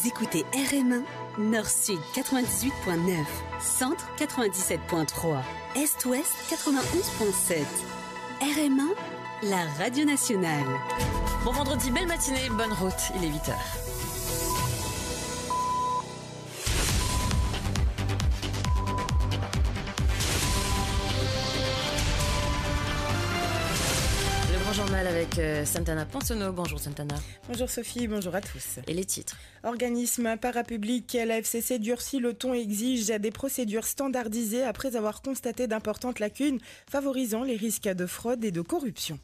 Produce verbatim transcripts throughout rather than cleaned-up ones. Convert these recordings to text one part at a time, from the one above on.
Écoutez R M un, Nord-Sud quatre-vingt-dix-huit point neuf, Centre quatre-vingt-dix-sept point trois, Est-Ouest quatre-vingt-onze point sept. R M un, la radio nationale. Bon vendredi, belle matinée, bonne route, il est huit heures. Le grand journal avec, euh, Santana Ponsono. Bonjour Santana. Bonjour Sophie, bonjour à tous. Et les titres ? Organisme parapiblik, la F C C durcit le ton et exige des procédures standardisées après avoir constaté d'importantes lacunes favorisant les risques de fraude et de corruption.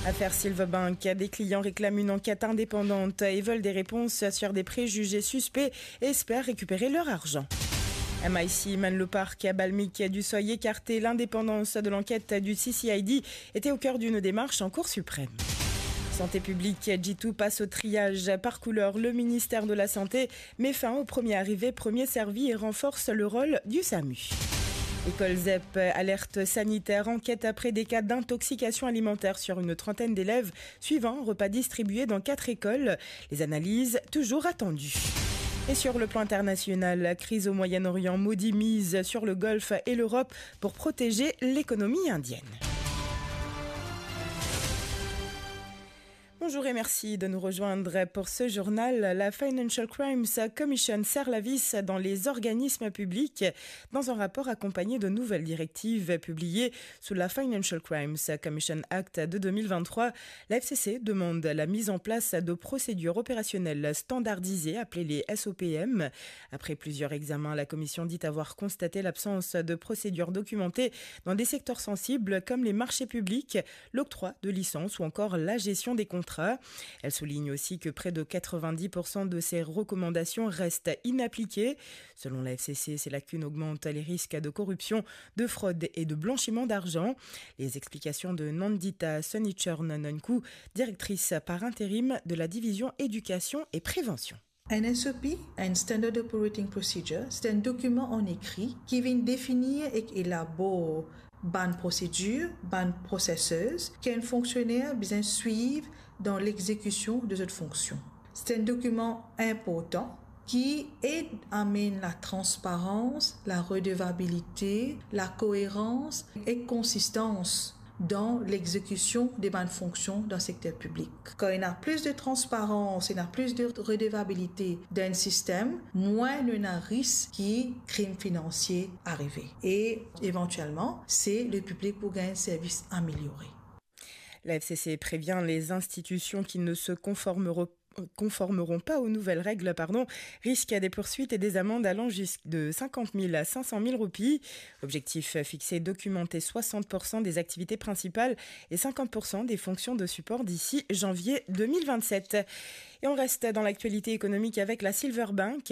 Affaire Silverbank, des clients réclament une enquête indépendante et veulent des réponses sur des préjugés suspects et espèrent récupérer leur argent. M I C mène le parquet à Balmic du seuil écarté. L'indépendance de l'enquête du C C I D était au cœur d'une démarche en Cour suprême. Santé piblik, Jitu passe au triage par couleur. Le ministère de la Santé met fin au premier arrivé, premier servi et renforce le rôle du SAMU. École ZEP, alerte sanitaire, enquête après des cas d'intoxication alimentaire sur une trentaine d'élèves, suivant un repas distribué dans quatre écoles. Les analyses toujours attendues. Et sur le plan international, la crise au Moyen-Orient, Modi mise sur le Golfe et l'Europe pour protéger l'économie indienne. Bonjour et merci de nous rejoindre pour ce journal. La Financial Crimes Commission serre la vis dans les organismes publics. Dans un rapport accompagné de nouvelles directives publiées sous la Financial Crimes Commission Act de deux mille vingt-trois, la F C C demande la mise en place de procédures opérationnelles standardisées appelées les S O P M. Après plusieurs examens, la commission dit avoir constaté l'absence de procédures documentées dans des secteurs sensibles comme les marchés publics, l'octroi de licences ou encore la gestion des contrats. Elle souligne aussi que près de quatre-vingt-dix pour cent de ces recommandations restent inappliquées. Selon la F C C, ces lacunes augmentent les risques de corruption, de fraude et de blanchiment d'argent. Les explications de Nandita Sonichorn Nonkou, directrice par intérim de la division éducation et prévention. Un S O P, un Standard Operating Procedure, c'est un document en écrit qui vient définir et élaborer bann prosedir, bann processus ki enn fonksioner bizin swiv dan lexekision de zot fonksion. Se enn dokiman inportan ki ed amenn latransparans, laredevabilite, lakoerans ek konsistans dan lexekision de bann fonksion dan sekter piblik. Kan ena plis de transparans, ena plis de redevabilite dan enn sistem, mwin nou ena risk ki krim finansie arive. E evantielman, se lepiblik pou gagn servis ameliore. La F C C prévient les institutions qui ne se conformeront, conformeront pas aux nouvelles règles, pardon, risquent des poursuites et des amendes allant jusqu'à de cinquante mille à cinq cent mille roupies. Objectif fixé, documenter soixante pour cent des activités principales et cinquante pour cent des fonctions de support d'ici janvier deux mille vingt-sept. Et on reste dans l'actualité économique avec la Silverbank.